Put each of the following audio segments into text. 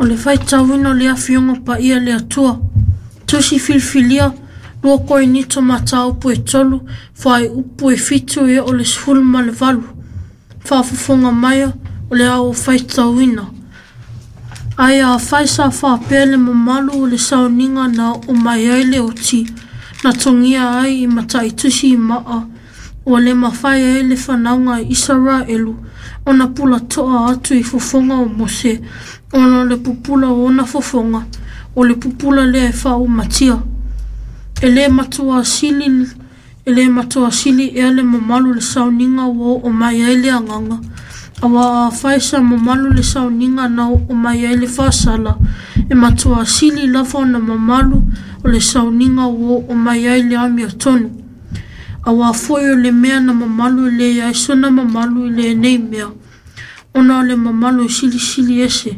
O le faitauina o le Afioga Paia le Atua. Tusi filifilia, 2 Korinito mataupu e 3, fuaiupu e 7 e oo i le 18. Faafofoga maia, o le a ou faitauina. Ae afai sa faapea le mamalu o le sauniga na oo mai ai le oti, na togia ai i mataitusi i maa, ua le mafai ai le fanauga a Isaraelu ona pulatoa atu i fofoga o Mose, ona o le pupula o ona fofoga, o le pupula lea e faaumatia. E le matua sili, e le matua sili ea le mamalu o le sauniga ua oo mai ai le agaga, aua afai sa mamalu le sauniga na oo mai ai le faasala, e matua sili lava ona mamalu o le sauniga ua oo mai ai le amiotonu. Aua foi o le mea na mamalu e leai sona mamalu i lenei mea, ona o le mamalu e silisili ese.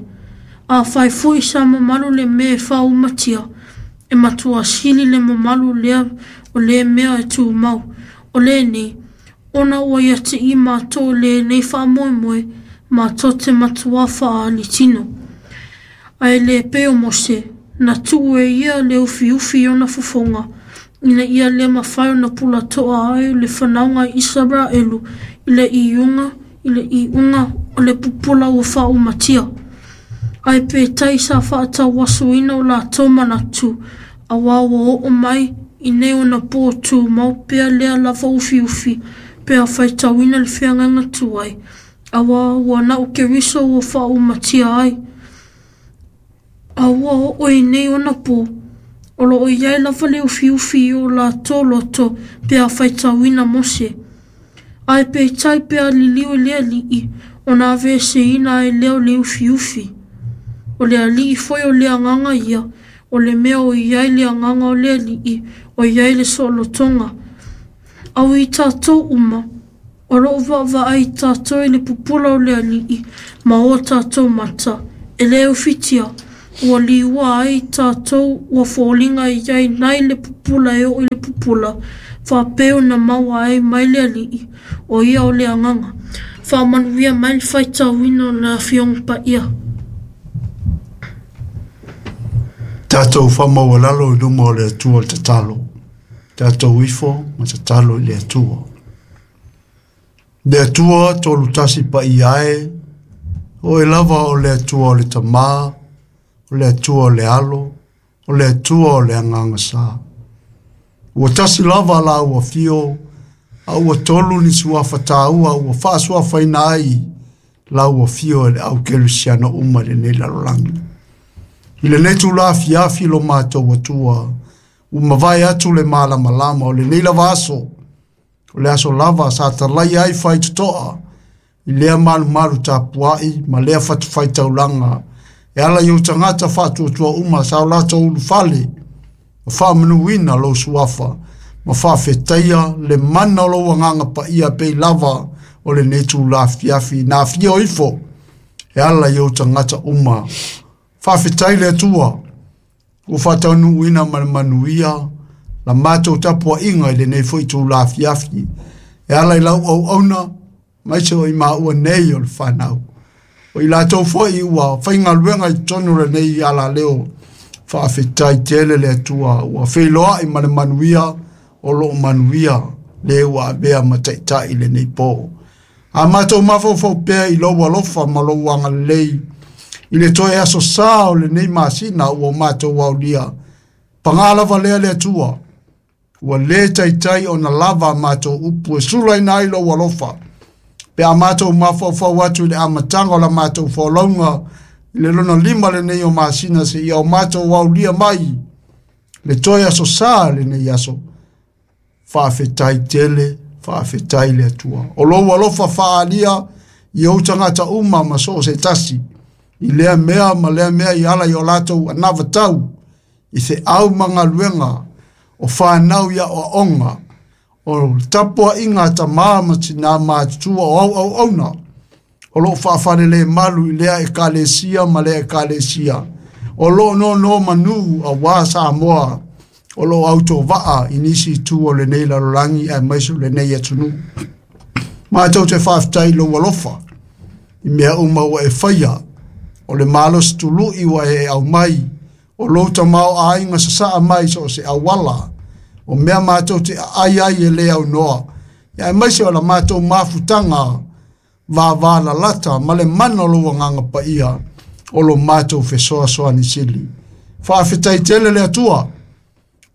Afai foi sa mamalu le mea e faaumatia, e matua sili le mamalu lea o le mea e tumau. O lenei, ona ua ia te i matou lenei faamoemoe, matou te matuā faaali tino. Ae le pei o Mose, na tuu e ia le ufiufi i ona fofoga, ina ia le mafai ona pulatoa ai le fanauga a Isaraelu i le iuga i le iuga o le pupula ua faaumatia. Ae peitai sa faatauasoina o latou manatu, aua ua oo mai i nei ona po tumau pea lea lava ufiufi pe a faitauina le feagaiga tuai, aua ua na o Keriso ua faaumatia ai. A ua oo i nei ona po, o lo o i ai lava le ufiufi i o latou loto pe a faitauina Mose. Ae peitai pe a liliu i le Alii, ona aveeseina ai lea o le ufiufi. O le Alii foi o le agaga ia, o le mea o i ai le agaga o le Alii, o i ai le soolotoga. Au i tatou uma, o lo o vaavaai tatou i le pupula o le Alii ma o tatou mata, e le ufitia, ua liua ai tatou ua foliga i ai nai le pupula e oo i le pupula, faapea ona maua ai mai le Alii, o ia o le agaga. Faamanuia mai le faitauina o le Afioga Paia. Tatou faamaualalo i luma o le Atua le tatalo. Tatou ifo ma tatalo i le Atua. Le Atua tolu tasi paia e, oe lava o le Atua o le Tamā, o le Atua o le Alo, o le Atua o le Agaga Sa. Ua tasi lava la ua fio, a ua tolu ni suafa tāua ua faasuafaina ai la ua fio e le au kerisiano uma i lenei lalolagi. I lenei tula afiafi lo matou Atua, ua mavae atu le malamalama o lenei lava aso, o le aso lava sa talaia ai faitotoa i lea malumalu tapuai ma lea fatafaitaulaga e ala i ou tagata faatuatua uma sa o latou ulufale ma faamanuina lou suafa ma faafetaia le mana o lou agaga paia pei lava o lenei tula afiafi na afio ifo e ala i ou tagata uma. Faafetai le Atua ua faataunuuina ma le manuia la matou tapuaiga i lenei foi itula afiafi e ala i lau auauna aemaise o i maua nei o le fanau. O i latou foi ua faigaluega i totonu o lenei alaleo, faafetai tele le Atua ua feiloai ma le manuia o loo manuia le ua avea ma taitai i lenei po. A matou mafaufau pea i lou alofa ma lou agalelei i le toe aso sa o lenei masina ua matou aulia, paga lava lea le Atua, ua le taitai ona lava a matou upu e sulaina ai lou alofa. Pe a matou mafaufau atu i le amataga o la matou folauga i le lona 5 lenei o masina seia o matou aulia mai le toe aso sa lenei aso, faafetai tele, faafetai le Atua. O lou alofa faaalia i ou tagata uma ma so o se tasi, i lea mea ma lea mea i ala i o latou anavatau, i feau ma galuega, o fanau i aoaoga, o tapuaiga a tamā ma tinā matutua o au auauna, o loo faafalelemalu malu i lea ekalesia ma lea ekalesia, o loo nono manu auā Samoa, o loo autovaa i nisi itu o lenei lalolagi aemaise o lenei atunuu. Matou te faafetai i lou alofa i mea uma ua e faia O le malosi tulu'i ua e aumai, o lou tamaoaiga sasaa mai so o se auala, o mea matou te aai ai e le aunoa, ia aemaise o la matou mafutaga vavalalata ma le mana o lou agaga paia o lo matou fesoasoani sili. Faafetai tele le Atua,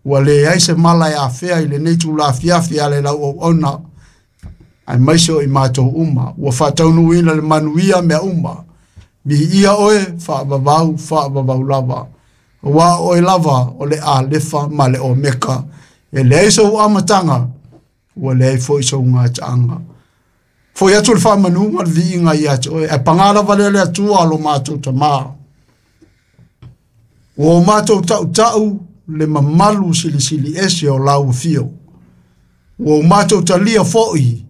ua leai se mala e afea i lenei itula afiafi e ala i lau auauna, aemaise o i matou uma, ua faataunuuina le manuia mea uma. Viia oe, faavavau, faavavau lava. Aua o oe lava o le Alefa ma le Omeka. E leai sou amataga, ua leai foi sou gataaga. Foi atu le faamanuga ma le viiga ia te oe, ae paga lava lea le Atua lo matou Tamā. Ua o matou tautau le mamalu silisili ese o lau afio. Ua o matou talia foi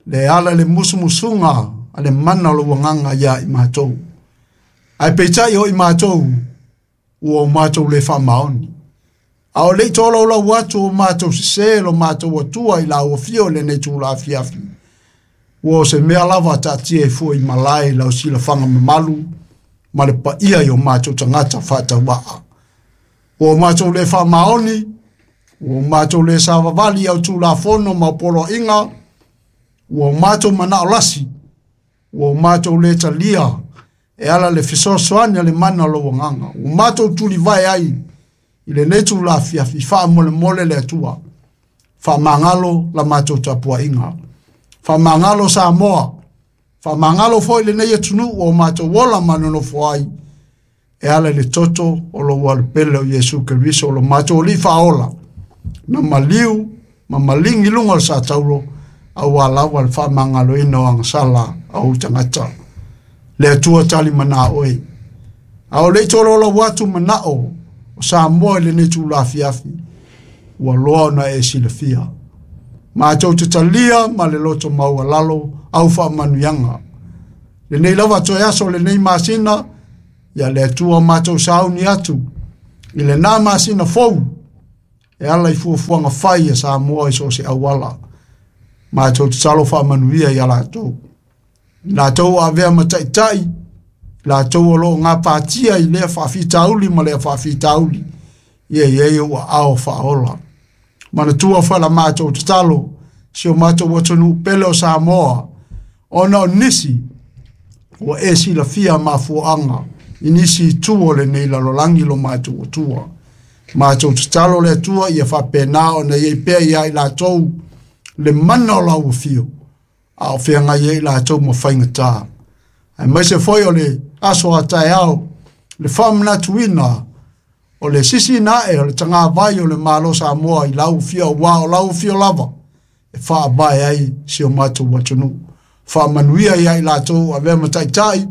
le ala i le musumusuga a le mana o lou agaga ia i matou. Ae peitai o i matou, ua o matou le faamaoni. A o le i tolaulau atu o matou sesē lo matou Atua i lau afio i lenei itula afiafi, ua o se mea lava taatia ai fua i malae i lau silafaga mamalu ma le paia i o matou tagata faatauvaa. Ua o matou le faamaoni, ua o matou le savavali i au Tulafono ma au poloaiga, ua o matou manao lasi, ua o matou le talia e ala le fesoasoani a le mana o lou agaga. Ua matou tulivae ai i lenei itula afiafi, faamolemole le Atua. Faamagalo la matou tapuaiga. Faamagalo Samoa. Faamagalo foi lenei atunuu o matou ola ma nonofo ai, e ala i le toto o lou alopele o Iesu Keriso o lo matou Alii faaola, na maliu ma maligi luga o le satauro, aua lava le faamagaloina o agasala a ou tagata. Le Atua talimana oe. A o le i tolaulau atu manao o Samoa i lenei itula afiafi, ua loa ona e silafia. Matou te talia ma le loto maualalo au faamanuiaga. Lenei lava toe aso lenei masina, ia le Atua matou sauni atu i lena masina fou, e ala i fuafuaga fai a Samoa i so o se auala. Matou tatalo faamanuia ia latou. Latou avea ma taitai, latou o loo gapatia i lea faafitauli ma lea faafitauli, ia i ai ou aao faaola. Manatua foi la matou tatalo, si o matou atunuu pele o Samoa, ona o nisi ua e silafia mafuaaga i nisi itu o lenei lalolagi lo matou Atua. Matou tatalo le Atua ia faapena ona i ai pea ia i latou le mana o lau afio, a o feagai ai latou ma faigata. Aemaise foi o le aso a taeao, le faamanatuina o le sisiina ae o le tagavai o le Malo Samoa i lau afio, aua o lau afio lava e faavae ai si o matou atunuu. Faamanuia ia i latou avea ma taitai,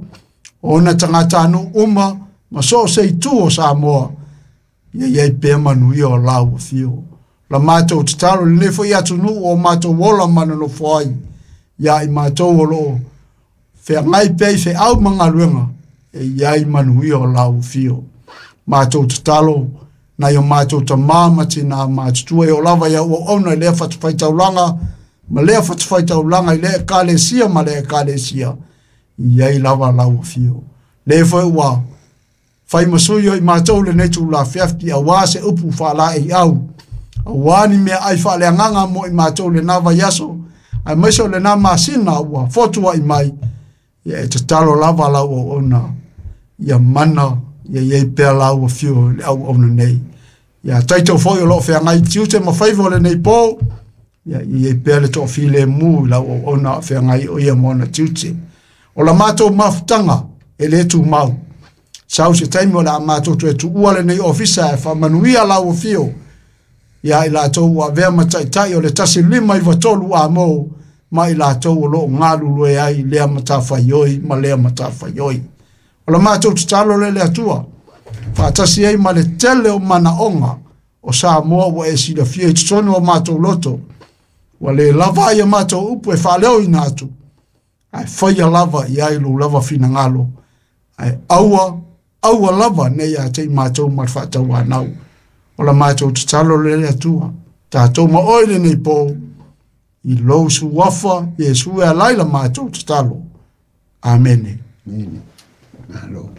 o ona tagatanuu uma ma so o se itu o Samoa, ia i ai pea manuia o lau afio. La matou tatalo lenei foi atunuu o matou ola ma nonofo ai, ia i matou o loo feagai pea i feau ma galuega, e i ai manuia o lau afio. Matou tatalo nai o matou tamā ma tinā matutua e oo lava i au auauna i lea fatafaitaulaga ma lea fatafaitaulaga i lea ekalesia ma lea ekalesia, i ai lava lau afio. Le foi ua fai ma sui o i matou lenei itula afiafi, aua se upu faalaeiau, aua ni meaai faaleagaga mo i matou lena vaiaso, aemaise o lena masina ua fotuai mai, ia e tatalo lava lau auauna, ia mana, ia i ai pea lau afio i le auauna nei. Ia taito foi o loo feagai i tiute ma faiva o lenei po, ia i ai pea le toafilemu i lau auauna o feagai o ia ma ona tiute. O la matou mafutaga e le tumau. Sau se taimi o le a matou toe tuua lenei ofisa e faamanuia lau afio ia i latou ua avea ma taitai o le 1593 a mo ma i latou o loo galulue ai lea matafaioi ma lea matafaioi. O la matou tatalo lea le Atua, faatasi ai ma le tele o manaoga o Samoa ua e silafia i totonu o matou loto, ua le lava ai a matou upu e faaleoina atu, ae faia lava i ai lou lava finagalo, ae aua, aua lava ne i ia te i matou ma le faatauanau. O la matou tatalo lea le Atua, tatou ma oe lenei po, i lou suafa Iesu e ala ai la matou tatalo. Amene. Amene. Malo.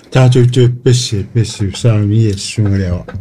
Tātou te pese, pese, usarangi e sunga lea.